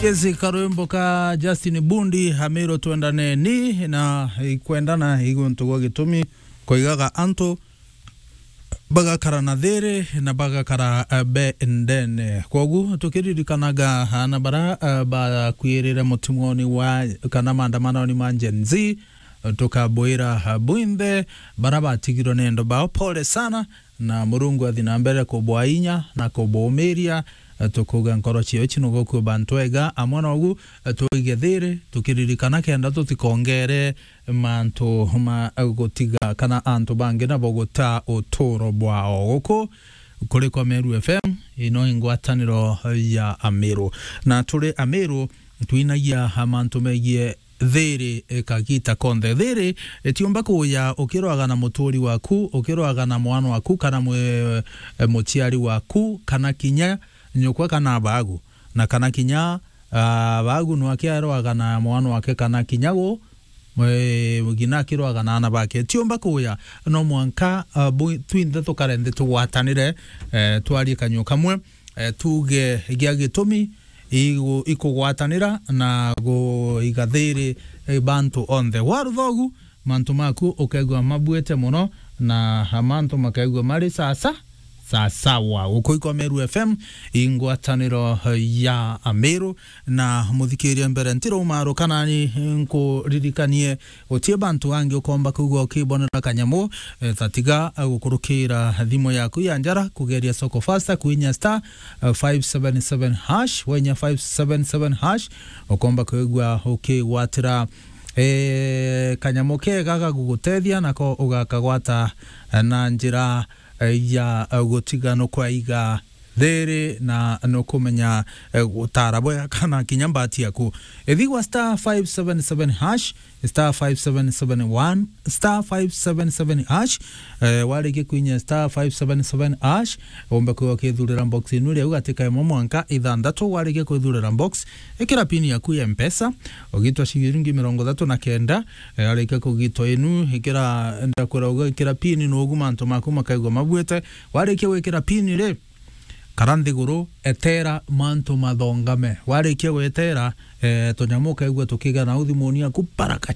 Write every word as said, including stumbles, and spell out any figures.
Kesi karwimbo ka Justin Bundi, Amiro Twendaneni, na ikwendana iguntu gwa gitumi koigaga antu bagakara na thiri na bagakara, eh, bendene. Kwogu tukiririkanaga ana bara, eh, bakwirire mutimoni wa kana maandamanoni ma Gen Z, tukabwira, eh, bwinthe bara batigirwe ni endo bao, pole sana, na Murungu athi na mbere kubwa inya na kubumiria. Eh, tukuga nkoro cio ici nugukua bantu ega amwe nogu, eh, twige thiri tukiririkana kenda tutikongere mantu ma, eh, gutiga kana antu bangi nabo guta uturo bwao. Guku kuri kwa Meru F M, ino ingwataniro ya Amiru, na turi Amiru twinagia mantu megie thiri, eh, kagita konthe. Thiri itiumba kuya ukirwaga na muturi waku, ukirwaga na mwana waku, kana mwe-, eh, muciari waku, kana kinya nyukwa kana abagu, na kana kinya, ah, abagu nwakiarwaga na mwana wake, kana kinya gu, eh, ngina akirwaga na ana bake. Itiumba kuya, no mwanka, ah, bu-, twinthe tukare nthi tugwatanire, eh, twarie kanyua kamwe, eh, tuge gia gitumi igu-, ikugwatanira na guiga thiri, eh, bantu onthe. Wa ruthogu, mantu maku ukaigua mabuite muno, na mantu makaigua mari sasa, sasawa. Guku ikwa Meru F M, ingwataniro ya Amiru, na muthikiria mbere ntiro umaru kanani nkuririkanie Guti bantu angi ukomba kwigua ukibonera kanyamu, eh, tatiga, eh, gukurukira thimu yaku ya njara, kugeria Soko Fasta, kwinya star, eh, five seven seven hash, wenya five seven seven hash, ukomba kwigua ukigwatira, eh, kanyamu kega gagugutethia, nako ugakagwata, eh, na njira, eh, ya, eh, gutiga nukwaiga thiri na nukumenya, eh, gutara bwega kana kinya mbati yaku. Ithigwa star five seven seven hash, star five seven seven one, star five seven seven hash. Eh, warikia kwinya star five seven seven hash, umbe kwigua ukithurira box inu riu gatika imwe mwanka ithanthatu. Warikia kwithurira box, ikira pin yaku ya Mpesa, ugitwa ciringi mirongo ithatu na kenda. Eh, warikia kugitwa inu, ikira, ndakwira ugikira pin, nugu mantu maku makaigua mabuite. Warikia gwikira pin ri, kara nthiguru, etera mantu mathongame. Warikia gwetera, eh, tunyamu ukaigua tukiga nau thimuni yaku, paraka